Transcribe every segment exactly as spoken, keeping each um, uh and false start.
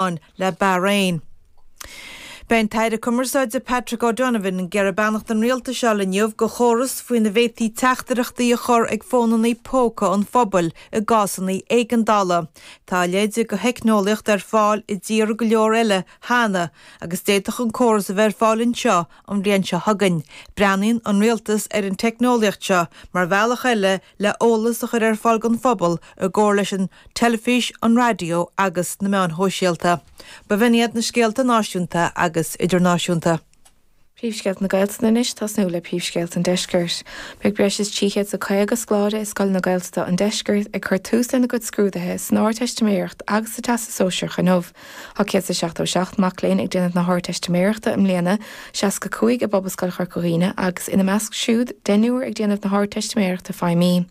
le Bahrain. Beidh an tAire Cumarsáide Patrick O'Donovan ag iarraidh beannacht an rialtais a fháil inniu do chóras faoina bhféadfaí teachtaireachtaí a chur ag fónanna póca an phobail i gcásanna éigeandála. Tá a leithéid de theicneolaíocht ar fáil i dtíortha go leor eile cheana agus d'fhéadfadh an córas a bheith ar fáil anseo an bhliain seo chugainn. Breathnaíonn an rialtas ar an teicneolaíocht seo mar bhealach eile le eolas a chur ar fáil don phobal i gcomhar leis an teilifís, an raidió agus na meáin shóisialta. Ba bh'in iad na scéalta náisiúnta agus idirnáisiúnta. Príomhscéalta na Gaeltachta anois tosnú le príomhscéalta an Deiscirt. Beidh breis is trí chéad is caoga scoláire i scoileanna Gaeltachta an Deiscirt ag cur tús lena gcuid scrúduithe san Ardteistiméireacht agus sa Teastas Sóisearach inniu. Tá céad is seachtó seacht mac léinn ag déanamh na hArdteistiméireachta i mbliana, seasca cúig i bPobalscoil Chorca Dhuibhne agus ina measc siúd deichniúr ag déanamh na hArdteistiméireachta Feidhmí.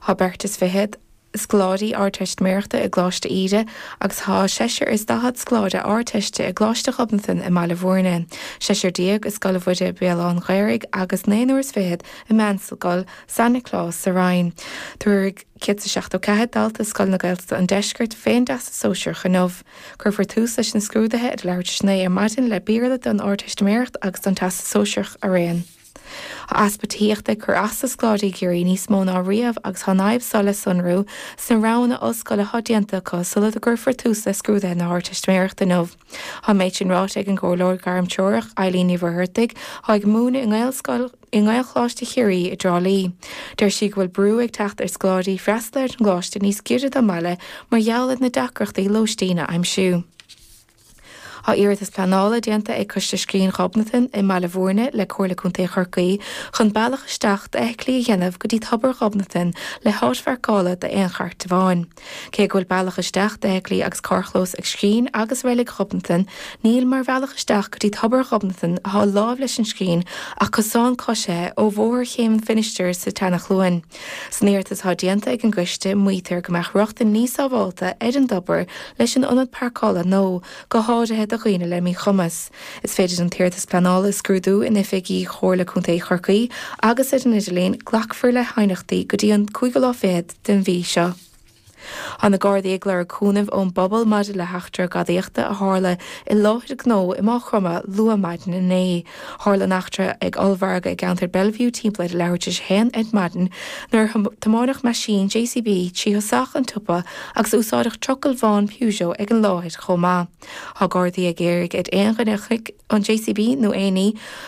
Tá beirt is fiche scoláirí Ardteistiméireachta i gColáiste Íde agus tá seisear is daichead scoláire Ardteiste i gColáiste Ghobnatan i mBaile Bhúirne, seisear déag i Scoil Mhuire Béal Átha an Ghaorthaidh agus naonúr is fichead i Meánscoil San Nioclás sa Rinn. Tabharfaidh céad is seachtó ceathair dalta i scoileanna Gaeltachta an Deiscirt fén dTeastas Sóisearach inniu. Cuirfear tús leis na scrúduithe ar a leathuair tar éis a naoi ar maidin le Béarla don Ardteistiméireacht agus don Teastas Sóisearach araon. Tá easpa tithíochta ag cur as do scoláirí i gCiarraí níos mó ná riamh agus tá an fhadhb seo le sonrú sna roghanna ollscoile atá déanta acu sula gcuirfear tús le scrúduithe na hArdteistiméireachta inniu. Tá an méid sin ráite ag an gComhairleoir Gairmtreorach Eileen Ní Mhuircheartaigh, atá ag múineadh i nGaelscoil i nGaelcholáiste Chiarraí i dTrá Lí. Deir sí go bhfuil brú ag teacht ar scoláirí freastal ar an gcoláiste níos giorra dá mbaile mar gheall ar na deacrachtaí lóistín a aimsiú. Tá iarratas pleanála déanta ag Coiste Scrín Ghobnatan i mBaile Bhúirne le Comhairle Contae Chorcaí chun bealach isteach d'fheithiclí a dhéanamh go dtí Tobar Ghobnatan le háit pháirceála d'aon chairt amháin. Cé go bhfuil bealach isteach d'fheithiclí agus carrchlós ag Scrín agus Reilig Ghobnatan, níl mar bhealach isteach go dtí Tobar Ghobnatan atá láimh leis an Scrín ach cosán coisithe ó Bhóthar Chéim an Phinistir sa tSeanchluain. San iarratas atá déanta ag an gcoiste, maítear go mbeadh rochtain níos sábháilte ar an dtobar leis an ionad páirceála nua, go háirithe do dhaoine le míchumas. Is féidir an t-iarratas pleanála a scrúdú in oifigí Chomhairle Contae Chorcaí agus ar an idirlíon, glacfar le haighneachtaí go dtí an cúigiú lá fichead den mhí seo. Tá na Gardaí ag lorg cúnaimh ón bpobal maidir le heachtra gadaíochta a tharla i láthair gnó i Maigh Chromtha luath maidin inné. Tharla an eachtra ag ollmhargadh i gceantar Bellevue timpeall ar a leathuair tar éis a haon ar maidin nuair a tiomáineadh meaisín JCB trí thosach an tsiopa agus úsáideadh trucail bhán Peugeot ag an láthair chomh maith. Tá Gardaí ag iarraidh ar aon dhuine a chonaic an JCB nó aon ní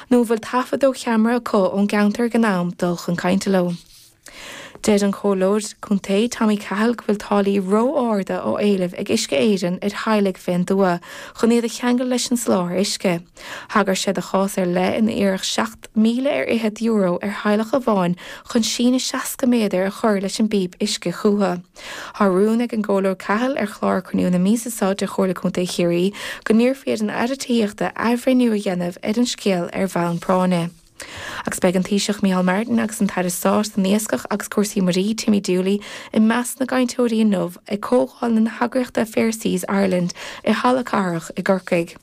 nó a bhfuil taifead ó cheamara acu ón gceantar ag an am dul chun cainte leo. Deir an Comhairleoir Contae Tommy Cahill go bhfuil táillí ró-arda á éileamh ag Uisce Éireann ar theaghlaigh fén dtuath chun iad a cheangal leis an soláthar uisce. Thagair sé do chás ar leith ina iarradh seacht míle ar fhichead euro ar theaghlach amháin chun síneadh seasca méadar a chur leis an bpíp uisce chucu. Tá rún ag an gComhairleoir Cahill ar chlár cruinniú na míosa seo de Chomhairle Contae Chiarraí go n-iarrfaí ar an Aire Tithíochta athbhreithniú a dhéanamh ar an scéal ar bhonn práinne. Agus beidh an Taoiseach Micheál Martin agus an tAire Stáit don Iascach agus Cúrsaí Muirí, Timmy Dooley, i measc na gcainteoirí inniu ag comhdháil na heagraíochta Fair Seas Ireland i Halla Cathrach i gCorcaigh.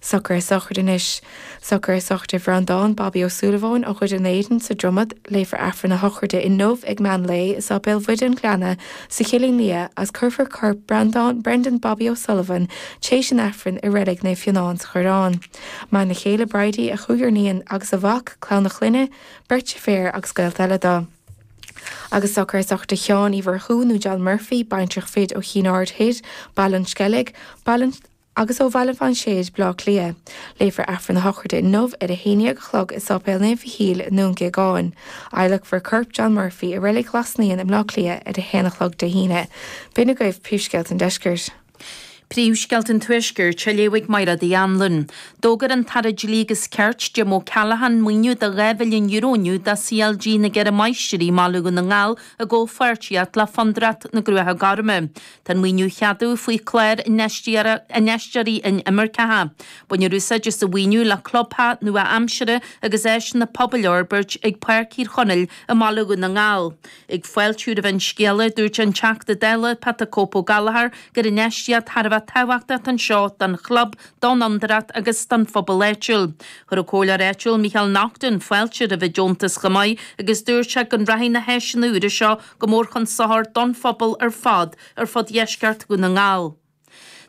Socruithe sochraide anois. Socruithe sochraide Bhreandán Bobby Ó Súilleabháin ó Dhoire an Éadain sa Dromad. Léifear Aifreann a shochraide inniu ag meán lae i Sáipéal Mhuire an Ghleanna sa Chillín Liath agus cuirfear corp Breandán Brendan Bobby O'Sullivan tréis an Aifrinn i Reilig Naomh Fionán sa Choireán. Maireann a chéile Bridie, a chúigear iníon agus a mhac, clann a chlainne, beirt deirféar agus gaolta eile dó. Agus socruithe sochraide Sheáin Uí Mhurchú nó John Murphy, baintreach fir ó Chinn Aird Thoir, Baile an Sceilg, Baile an agus ó Bhaile Bhlainséid, Bleá Cliath. Léifear Aifreann a shochraide inniu ar a haon déag a chlog i Sáipéal Naomh Mhichíl i nDún Géagáin. Adhlacfar corp John Murphy i Reilig Ghlas Naíon i mBleá Cliath ar a haon a chlog Dé hAoine. B'in agaibh príomhscéalta an deiscirt. Príomhscéalta an Tuaiscirt á léamh ag Máire Uí Anluain. D'fhógair an tAire Dlí agus Cirt, Jim O'Callaghan, maoiniú de dhá mhilliún euro inniu do CLG na gCeithre Máistrí i mBaile Dhún na nGall i gcomhpháirtíocht le Fondúireacht na Gcruacha Gorma. Tá an maoiniú á cheadú faoi chlár Infheisteoirí Inimirceacha. Bainfear úsáid as an mhaoiniú le clubtheach nua-aimseartha agus áiseanna pobail a fhorbairt ag Páirc Thír Chonaill i mBaile Dhún na nGall. Ag fáiltiú roimh an scéala, dúirt an Teachta Dála Pat 'The Cope' Ó Gallchóir gur infheistíocht thar a bheith tábhachtach anseo don chlub, don fhondúireacht agus don phobal áitiúil. Chuir an comhairleoir áitiúil Micheál Naughton fáilte roimh an deontas chomh maith agus dúirt sé go rachaidh na háiseanna úra seo go mór chun sochair don phobal ar fad ar fud dheisceart Dhún na nGall.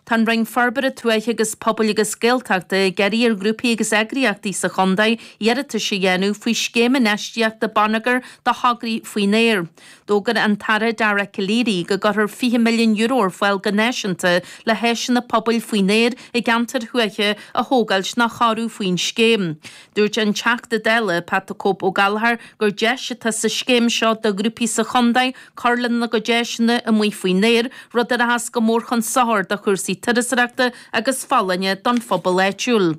Tá an Roinn Forbartha Tuaithe agus Pobail agus Gaeltachta ag iarraidh ar ghrúpaí agus eagraíochtaí sa chontae iarratais a dhéanamh faoi Scéim Infheistíochta Bonneagair do thograí faoin aer. D'fhógair an tAire Dara Calleary go gcuirfear fiche milliún euro ar fáil go náisiúnta le háiseanna pobail faoin aer i gceantair thuaithe a thógáilt nó a chóiriú faoin scéim. Dúirt an Teachta Dála Pat the Cope Ó Gallchóir gur deis atá sa scéim seo do ghrúpaí sa chontae cur lena gcuid áiseanna amuigh faoin aer, rud a rachas go mór chun sochair do chúrsaí turasóireachta agus folláine don phobal áitiúil.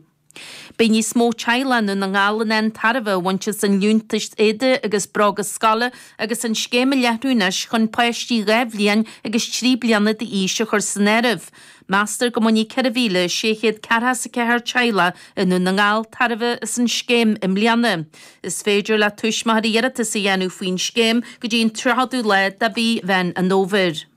Beidh níos mó teaghlach i nDún na nGall in ann tairbhe a bhaint as an liúntas éadaí agus bróga scoile agus an scéim a leathnú anois chun páistí dhá bhliain agus trí bliana d'aois a chur san áireamh. Meastar go mbainfidh ceithre mhíle sé chéad ceathracha is a ceathair teaghlach i nDún na nGall tairbhe as an scéim i mbliana. Is féidir le tuismitheoirí iarratas a dhéanamh faoin scéim go dtí an tríochadú lá de mhí Mheán an Fhómhair.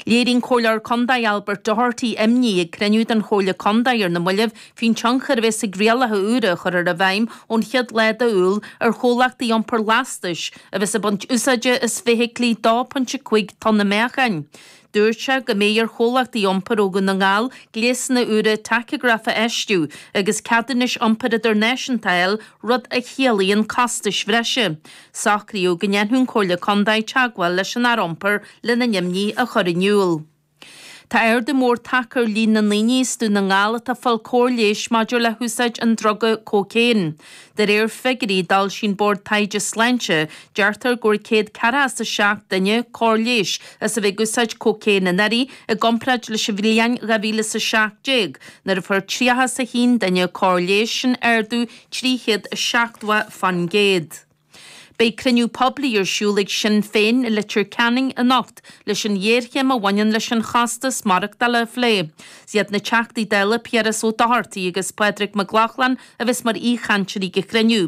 Léirigh an Comhairleoir Contae Albert Doherty imní ag cruinniú den Chomhairle Contae ar na mallaibh faoin tionchar a bheas ag rialacha úra a chuirfear i bhfeidhm ón chéad lá d'Iúil ar chomhlachtaí iompair lastais a bheas ag baint úsáide as feithiclí dó pointe cúig tonna meáchain. Dúirt sé go mbeidh ar chomhlachtaí iompair ó Dhún na nGall gléasanna úra tacagraif a fheistiú agus ceadúnais iompair idirnáisiúnta a fháil, rud a chiallaíonn costais bhreise. Socraíodh go ndéanfadh an Chomhairle Contae teagmháil leis an Aire Iompair lena n-imní a chur in iúl. Tá ardú mór tagtha ar líon na ndaoine as Dún na nGall atá ag fáil cóir leighis maidir le húsáid an druga cócaon. De réir figiúirí a d'fhoilsigh an Bord Taighde Sláinte, deirtear go bhfuair céad ceathracha is a seacht duine cóir leighis as a bheith ag úsáid cócaon anuraidh i gcomparáid leis an bhliain dhá mhíle is a seacht déag nuair a fuair tríocha is a haon duine cóir leighis, sin ardú trí chéad is seachtó fán gcéad. Beidh cruinniú poiblí ar siúl ag Sinn Féin i Leitir Ceanainn anocht leis an ghéarchéim a bhaineann leis an chostas maireachtála a phlé. Is iad na Teachtaí Dála Piaras Ó Dochartaigh agus Pádraig Mac Lochlainn a bheas mar aoichainteoirí ag an chruinniú.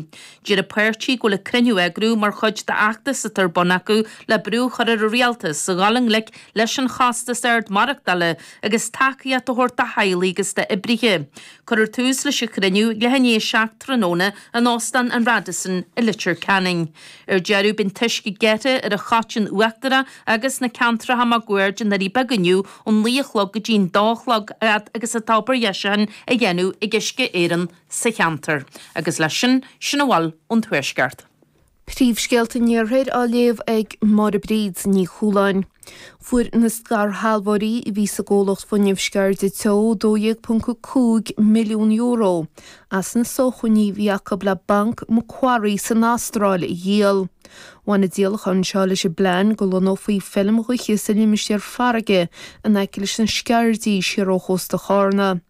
Deir an páirtí go bhfuil an cruinniú á eagrú mar chuid d'fheachtas atá ar bun acu le brú a chur ar an rialtas a dhul i ngleic leis an chostas ard maireachtála agus tacaíocht a thabhairt do theaghlaigh agus d'oibrithe. Cuirfear tús leis an chruinniú ag leath i ndiaidh a seacht tráthnóna in Óstán an Radisson i Leitir Ceanainn. Ar deireadh, beidh an t-uisce gearrtha ar an Choiteann Uachtarach agus na ceantracha máguaird i nDoirí Beaga inniu ón naoi a chlog go dtí'n dó a chlog fhad agus atá obair dheisiúcháin á dhéanamh ag Uisce Éireann sa cheantar. Agus leis sin, sin a bhfuil ón Tuaisceart. Príomhscéalta an Iarthair á léamh ag Máire Bríd Ní Chualáin. Fuair na scairshealbhóirí a bhí sa gcomhlacht fuinnimh Sceirde Teo dó dhéag ponc a cúig milliún euro as na sócmhainní a bhí acu le Banc Macquarie san Astráil a dhíol. Bhain an díolachán seo leis an bplean go lonnófaí feilm ghaoithe sa limistéar farraige in aice leis na Sceirdí siar ó chósta Chárna.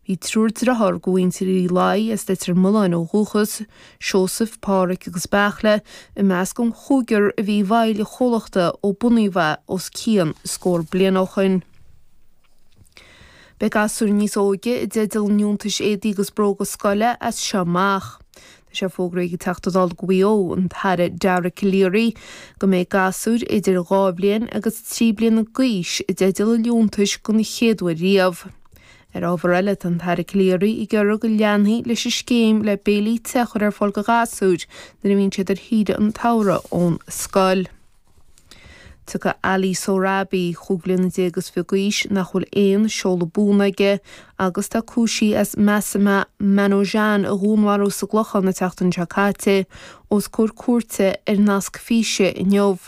Bhí triúr dearthár de mhuintir Uí Laoi, as Leitir Mealláin ó dhúchas, Seosamh, Páraic agus Beartla, i measc an chúigear a bhí i bhfeighil an chomhlachta ó bunaíodh é os cionn scór bliain ó shin. Beidh gasúir níos óige i dteideal an liúntais éadaí agus bróga scoile as seo amach. Tá sé fógraithe ag an Teachta Dála do Mhaigh Eo, an tAire Dara Calleary, go mbeidh gasúir idir dhá bhliain agus trí bliana d'aois i dteideal an liúntais den chéad uair riamh. Ar ábhar eile, tá an tAire Calleary ag iarraidh go leanfaí leis an scéim le béilí te a chur ar fáil do ghasúir nuair a bhíonn siad ar shaoire an tsamhraidh ón scoil. Tiocfaidh Ali Sohrabi, chúig bliana déag is fiche d'aois, nach bhfuil aon seoladh buan aige agus atá cúisithe as Massimah Manojan a dhúnmharú sa gClochán an tseachtain seo caite, os comhair cúirte ar nasc físe inniu.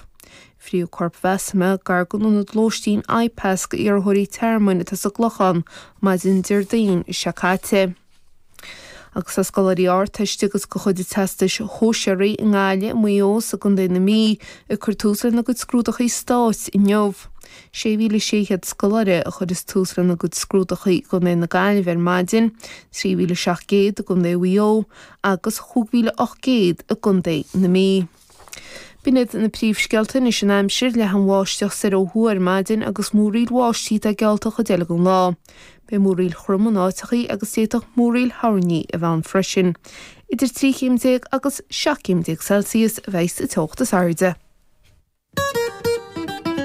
Frítheadh corp Mhassimah gar don ionad lóistín IPAS d'iarrthóirí tearmainn atá sa gClochán maidin Déardaoin seo caite. Agus tá scoláirí Ardteiste agus de chuid an Teastais Shóisearaigh i nGaillimh, i Maigh Eo is i gContae na Mí ag cur tús lena gcuid scrúdachaí stáit inniu. sé mhíle sé chéad scoláire a chuireas tús lena gcuid scrúdachaí i gContae na Gaillimhe ar maidin, trí mhíle seacht gcéad i gContae Mhaigh Eo agus chúig mhíle ocht gcéad i gContae na Mí. B'in iad na príomhscéalta anois an aimsir, leathan-bháisteach soir ó thuaidh ar maidin agus múraíl bháistí atá geallta an chuid eile den lá. Beidh múraíl throm in áiteachaí agus d'fhéadfadh múraíl thoirní a bheith ann freisin. Idir trí chéim déag agus seacht gcéim déag Celsius a bheidh sa teocht is airde.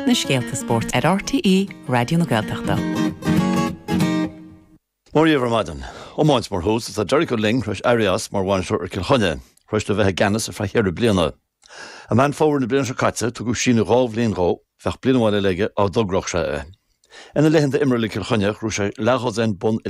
Na scéalta spóirt ar RTÉ Raidió na Gaeltachta. Mora dhaoibh ar maidin. Iomáint mar thús, tá Derek Ó Loing tar éis éirí as mar bhainisteoir ar Cill Chainnigh, tar éis dó bheith i gceannas ar feadh cheithre bliana. I Meán Fómhair na bliana seo caite, tugadh síneadh dhá bhliain dhó, bheadh bliain amháin eile aige dá dtogródh sé é. Ina laethanta imeartha le Cill Chainnigh, ghnóthaigh sé leathdhosaen bonn